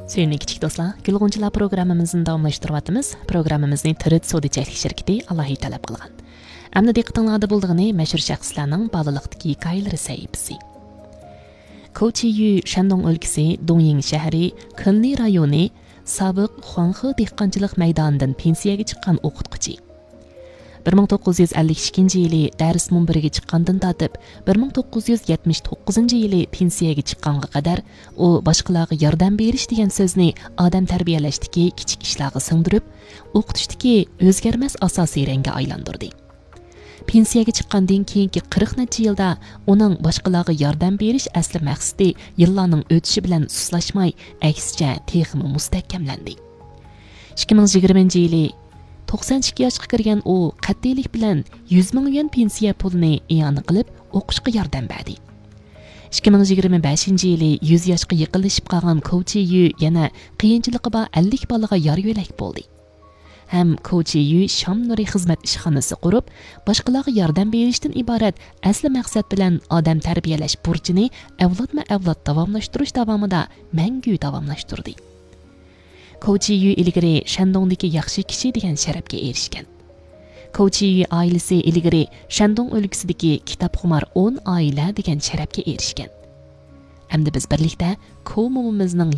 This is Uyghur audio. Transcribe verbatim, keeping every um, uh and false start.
سۆيۈملۈك كىچىك دوستلار، گۈل غۇنچىلار پروگراممىمىزنى داۋاملاشتۇرۇۋاتىمىز. پروگراممىمىزنى تىرىت سودا چەكلىك شىركىتى ئالاھىدە تەلەپ قىلغان. ئەمدى دىققىتىڭلاردا بولىدىغىنى مەشھۇر شەخسلەرنىڭ بالىلىقتىكى ھېكايىلىرى سەھىپىسى. كوچى يۈ شەندۇڭ ئۆلكىسى دۇڭيىڭ شەھىرى كۈنلى رايونى سابىق خۇاڭخې دېھقانچىلىق مەيدانىدىن پېنسىيەگە چىققان ئوقۇتقۇچى. بىر مىڭ توققۇز يۈز ئەللىك ئىككىنچى يىلى دەرس مۇنبىرىگە چىققاندىن تارتىپ، بىر مىڭ توققۇز يۈز يەتمىش توققۇزىنچى يىلى پېنسىيەگە چىققانغا قەدەر ئۇ باشقىلارغا ياردەم بېرىش دېگەن سۆزنى ئادەم تەربىيەلەشتىكى كىچىك ئىشلارغا سىڭدۈرۈپ، ئوقۇتۇشتىكى ئۆزگەرمەس ئاساسىي رەڭگە ئايلاندۇردى. پېنسىيەگە چىققاندىن كېيىنكى قىرىق نەچچە يىلدا ئۇنىڭ باشقىلارغا ياردەم بېرىش ئەسلى مەقسىتى يىللارنىڭ ئۆتۈشى بىلەن سۇسلاشماي، ئەكسىچە، تېخىمۇ مۇستەھكەملەندى. ئىككى مىڭ يىگىرمىنچى يىلى توقسان ئىككى ياشقا كىرگەن ئۇ قەتئىيلىك بىلەن يۈز مىڭ يۈەن پېنسىيە پۇلىنى ئىئانە قىلىپ، ئوقۇشقا ياردەم بەردى. ئىككى مىڭ يىگىرمە بەشىنچى يىلى يۈز ياشقا يېقىنلىشىپ قالغان كوچى يۈ يەنە قىيىنچىلىقى بار ئەللىك بالىغا يار يۆلەك بولدى. ھەم كوچى يۈ شام نۇرى خىزمەت ئىشخانىسى قۇرۇپ، باشقىلارغا ياردەم بېرىشتىن ئىبارەت ئەسلى مەقسەت بىلەن ئادەم تەربىيەلەش بۇرچىنى ئەۋلادمۇ ئەۋلاد داۋاملاشتۇرۇش داۋامىدا مەڭگۈ داۋاملاشتۇردى. كوچى يۈ ئىلگىرى شەندۇڭدىكى ياخشى كىشى دېگەن شەرەپكە ئېرىشكەن. كوچى يۈ ئائىلىسى ئىلگىرى شەندۇڭ ئۆلكىسىدىكى كىتابخۇمار ئون ئائىلە دېگەن شەرەپكە ئېرىشكەن. ئەمدى بىز بىرلىكتە كو مومىمىزنىڭ